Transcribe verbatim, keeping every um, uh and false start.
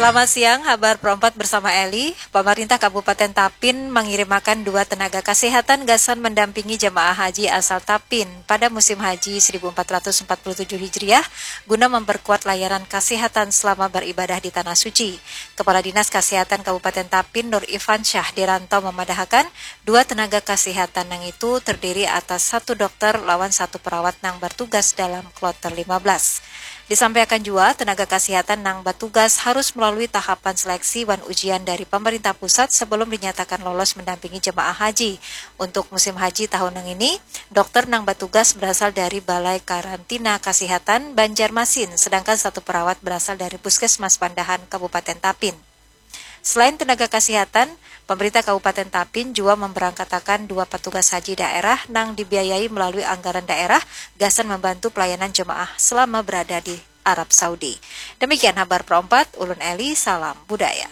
Selamat siang, habar perempat bersama Eli. Pemerintah Kabupaten Tapin mangirimakan dua tenaga kasihatan gasan mendampingi jemaah haji asal Tapin pada musim haji seribu empat ratus empat puluh tujuh Hijriah guna memperkuat layanan kasihatan selama beribadah di Tanah Suci. Kepala Dinas Kasihatan Kabupaten Tapin Nur Ifansyah di Rantau memadahakan, dua tenaga kasihatan nang itu terdiri atas satu dokter lawan satu perawat nang bertugas dalam kloter lima belas. Disampaikan jua, tenaga kasihatan nang batugas harus melalui tahapan seleksi wan ujian dari pemerintah pusat sebelum dinyatakan lolos mendampingi jemaah haji. Untuk musim haji tahun nang ini, dokter nang batugas berasal dari Balai Karantina Kasihatan Banjarmasin, sedangkan satu perawat berasal dari Puskesmas Pandahan, Kabupaten Tapin. Selain tenaga kasihatan, pemerintah Kabupaten Tapin jua memberangkatakan dua petugas haji daerah nang dibiayai melalui anggaran daerah gasan membantu pelayanan jemaah selama berada di Arab Saudi. Demikian habar perempat, ulun Eli, salam budaya.